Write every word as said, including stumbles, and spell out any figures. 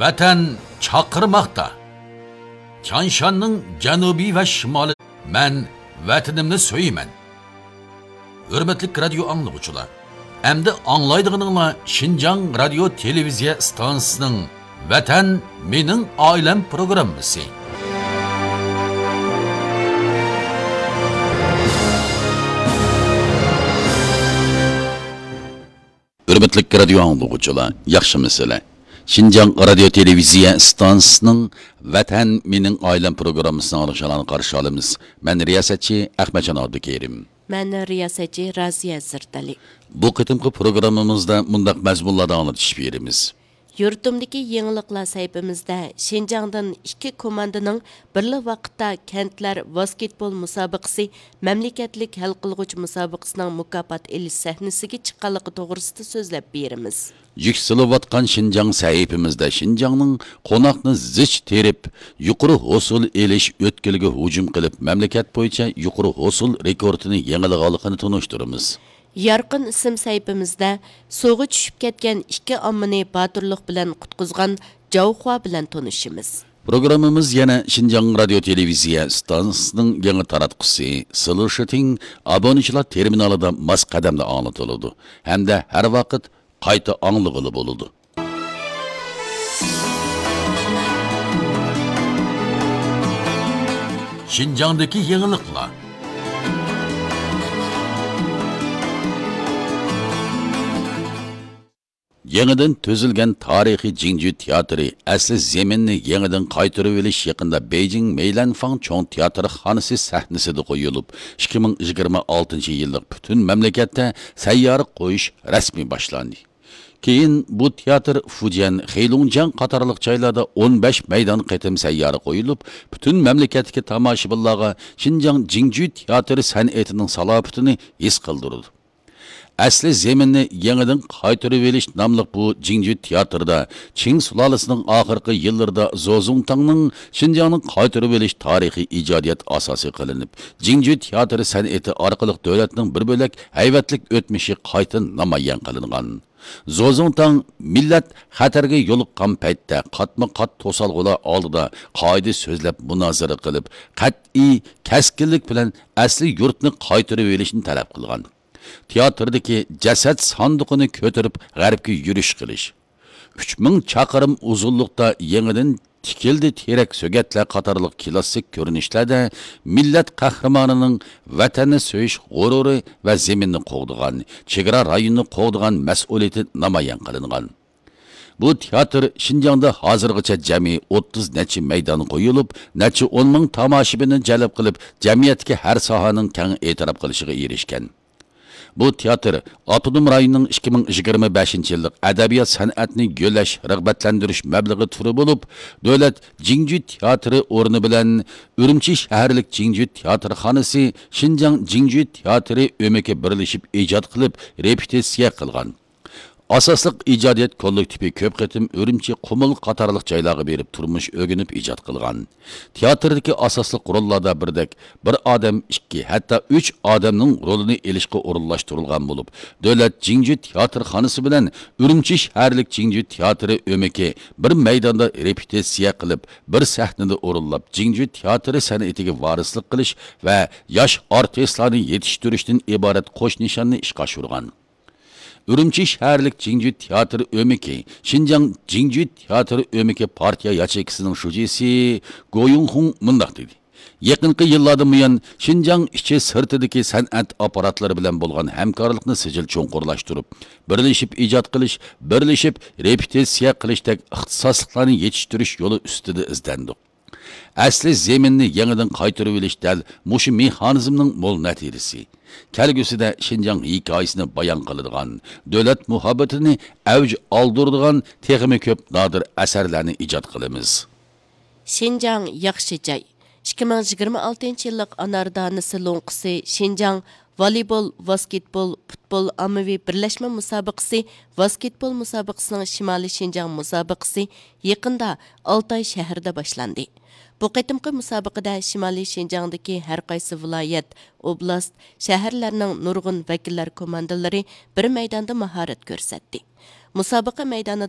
ۋەتەن چاقىرماقتا. تيانشاننىڭ جەنۇبى ۋە شىمالى. مەن ۋەتىنىمنى سۆيىمەن. ھۆرمەتلىك رادىيو ئاڭلىغۇچىلار، ئەمدى ئاڭلايدىغىنىڭلار شىنجاڭ رادىيو تېلېۋىزىيە ئىستانسىسىنىڭ ۋەتەن مېنىڭ ئائىلەم پروگراممىسى. ھۆرمەتلىك رادىيو ئاڭلىغۇچىلار، ياخشىمۇسىلەر؟ شىنجاڭ رادىيو تېلېۋىزىيە ئىستانسىسىنىڭ ۋەتەن مېنىڭ ئائىلەم پروگراممىسىنى ئاڭلىشىڭلارنى قارشى ئالىمىز. مەن رىياسەتچى ئەخمەتجان ئابدۇكېرىم. مەن رىياسەتچى رازىيە زىردەلى. بۇ قېتىمقى پروگراممىمىزدا مۇنداق مەزمۇنلاردا ئاڭلىتىش بېرىمىز. يۇرتۇمدىكى يېڭىلىقلار سەھىپىمىزدە شىنجاڭدىن ئىككى كوماندىنىڭ بىرلا ۋاقىتتا كەنتلەر ۋاسكېتبول مۇسابىقىسى مەملىكەتلىك ھەل قىلغۇچ مۇسابىقىسىنىڭ مۇكاپات ئېلىش سەھنىسىگە چىققانلىقى توغرىسىدا سۆزلەپ بېرىمىز. يۈكسىلىۋاتقان شىنجاڭ سەھىپىمىزدە شىنجاڭنىڭ قوناقنى زىچ تېرىپ، يۇقىرى ھوسۇل ئېلىش ئۆتكىلىگە ھۇجۇم قىلىپ، مەملىكەت بويىچە يۇقىرى ھوسۇل رېكورتىنى يېڭىلىغانلىقىنى تونۇشتۇرىمىز. يارقىن ئىسىم سەھىپىمىزدە سۇغا چۈشۈپ كەتكەن ئىككى ئاممىنى باتۇرلۇق بىلەن قۇتقۇزغان جاۋخۇا بىلەن تونۇشىمىز. پروگراممىمىز يەنە شىنجاڭ رادىيو تېلېۋىزىيە ئىستانسىسىنىڭ يېڭى تاراتقۇسى سىلۇشىتىڭ ئابۇنىچىلار تېرمىنالىدا ماس قەدەمدە ئاڭلىتىلىدۇ ھەمدە ھەر ۋاقىت قايتا ئاڭلىغىلى بولىدۇ. شىنجاڭدىكى يېڭىلىقلار. يېڭىدىن تۈزۈلگەن تارىخىي جىڭجۈ تىياتىرى ئەسلى زېمىننى يېڭىدىن قايتۇرۇۋېلىش يېقىندا بېيجىڭ مەيلەنفاڭ چوڭ تىياتىرخانىسى سەھنىسىدە قويۇلۇپ، ئىككى مىڭ يىگىرمە ئالتىنچى يىللىق پۈتۈن مەملىكەتتە سەييارە قويۇش رەسمىي باشلاندى. كېيىن بۇ تىياتىر فۇجيەن، خېيلۇڭجياڭ قاتارلىق جايلاردا ئون بەش مەيدان قېتىم سەييارە قويۇلۇپ، پۈتۈن مەملىكەتتىكى تاماشىبىنلارغا شىنجاڭ جىڭجۈ تىياتىرى سەنئىتىنىڭ سالاپىتىنى ھېس قىلدۇرىدۇ. ئەسلى زېمىننى يېڭىدىن قايتۇرۇۋېلىش ناملىق بۇ جىڭجۈ تىياتىرىدا چىڭ سۇلالىسىنىڭ ئاخىرقى يىللىرىدا زوزۇڭتاڭنىڭ شىنجاڭنى قايتۇرۇۋېلىش تارىخىي ئىجادىيەت ئاساسى قىلىنىپ، جىڭجۈ تىياتىرى سەنئىتى ئارقىلىق دۆلەتنىڭ بىر بۆلەك ھەيۋەتلىك ئۆتمۈشى قايتا نامايان قىلىنغان. زوزۇڭتاڭ مىللەت خەتەرگە يولۇققان پەيتتە قاتمۇ قات توسالغۇلار ئالدىدا قائىدە سۆزلەپ مۇنازىرە قىلىپ، قەتئىي كەسكىنلىك بىلەن ئەسلى يۇرتنى قايتۇرۇۋېلىشنى تەلەپ قىلغان. تىياتىردىكى جەسەت ساندۇقىنى كۆتۈرۈپ غەربكە يۈرۈش قىلىش، ئۈچ مىڭ چاقىرىم ئۇزۇنلۇقتا يېڭىدىن تىكىلدى تېرەك سۆگەتلەر قاتارلىق كلاسسىك كۆرۈنۈشلەردە مىللەت قەھرىمانىنىڭ ۋەتەننى سۆيۈش غۇرۇرى ۋە زېمىننى قوغدىغان، چېگرا رايونىنى قوغدىغان مەسئۇلىيىتى نامايان قىلىنغان. بۇ تىياتىر شىنجاڭدا ھازىرغىچە جەمئىي ئوتتۇز نەچچە مەيدان قويۇلۇپ، نەچچە ئون مىڭ تاماشىبىننى جەلپ قىلىپ، جەمئىيەتتىكى ھەر ساھەنىڭ كەڭ ئېتىراپ قىلىشىغا ئېرىشكەن. بۇ تىياتىر ئاپتونوم رايوننىڭ ئىككى مىڭ يىگىرمە بەشىنچى يىللىق ئەدەبىيات سەنئەتنى گۈللەش، رىغبەتلەندۈرۈش مەبلىغى تۈرى بولۇپ، دۆلەت جىڭجۈ تىياتىرى ئورنى بىلەن ئۈرۈمچى شەھەرلىك جىڭجۈ تىياتىرخانىسى شىنجاڭ جىڭجۈ تىياتىرى ئۆمىكى بىرلىشىپ ئىجاد قىلىپ، رېپېتىتسىيە قىلغان. ئاساسلىق ئىجادىيەت كوللېكتىپى كۆپ قېتىم ئۈرۈمچى، قۇمۇل قاتارلىق جايلارغا بېرىپ تۇرمۇش ئۆگىنىپ ئىجاد قىلغان. تىياتىردىكى ئاساسلىق روللاردا بىردەك بىر ئادەم، ئىككى، ھەتتا ئۈچ ئادەمنىڭ رولىنى ئېلىشقا ئورۇنلاشتۇرۇلغان بولۇپ، دۆلەت جىڭجۈ تىياتىرخانىسى بىلەن ئۈرۈمچى شەھەرلىك جىڭجۈ تىياتىرى ئۆمىكى بىر مەيداندا رېپېتىتسىيە قىلىپ، بىر سەھنىدە ئورۇنلاپ، جىڭجۈ تىياتىرى سەنئىتىگە ۋارىسلىق قىلىش ۋە ياش ئارتىسلارنى يېتىشتۈرۈشتىن ئىبارەت قوش نىشاننى ئىشقا ئاشۇرغان. ئۈرۈمچى شەھەرلىك جىڭجۈ تىياتىرى ئۆمىكى، شىنجاڭ جىڭجۈ تىياتىرى ئۆمىكى پارتىيە ياچېيكىسىنىڭ شۇجىسى گو يۇڭخۇڭ مۇنداق دېدى: يېقىنقى يىللاردىن بۇيان، شىنجاڭ ئىچى سىرتىدىكى سەنئەت ئاپپاراتلىرى بىلەن بولغان ھەمكارلىقنى سىجىل چوڭقۇرلاشتۇرۇپ، بىرلىشىپ ئىجاد قىلىش، بىرلىشىپ رېپېتىتسىيە قىلىشتەك ئىختىساسلىقلارنى يېتىشتۈرۈش يولى ئۈستىدە ئىزدەندۇق. ئەسلى زېمىننى يېڭىدىن قايتۇرۇۋېلىش دەل مۇشۇ مېخانىزمنىڭ مول نەتىجىسى. كەلگۈسىدە شىنجاڭ ھېكايىسىنى بايان قىلىدىغان، دۆلەت مۇھەببىتىنى ئەۋج ئالدۇرىدىغان تېخىمۇ كۆپ نادىر ئەسەرلەرنى ئىجاد قىلىمىز. شىنجاڭ ياخشى جاي. ئىككى مىڭ يىگىرمە ئالتىنچى يىللىق ئانار دانىسى لوڭقىسى شىنجاڭ ۋالىبول، ۋاسكېتبول، پۇتبول ئاممىۋى بىرلەشمە مۇسابىقىسى، ۋاسكېتبول مۇسابىقىسىنىڭ شىمالىي شىنجاڭ مۇسابىقىسى يېقىندا ئالتاي شەھىرىدە باشلاندى. بۇ قېتىمقى مۇسابىقىدە شىمالىي شىنجاڭدىكى ھەر قايسى ۋىلايەت، ئوبلاست، شەھەرلەرنىڭ نۇرغۇن ۋەكىللەر كوماندىلىرى بىر مەيداندا ماھارەت كۆرسەتتى. مۇسابىقە مەيدانىدا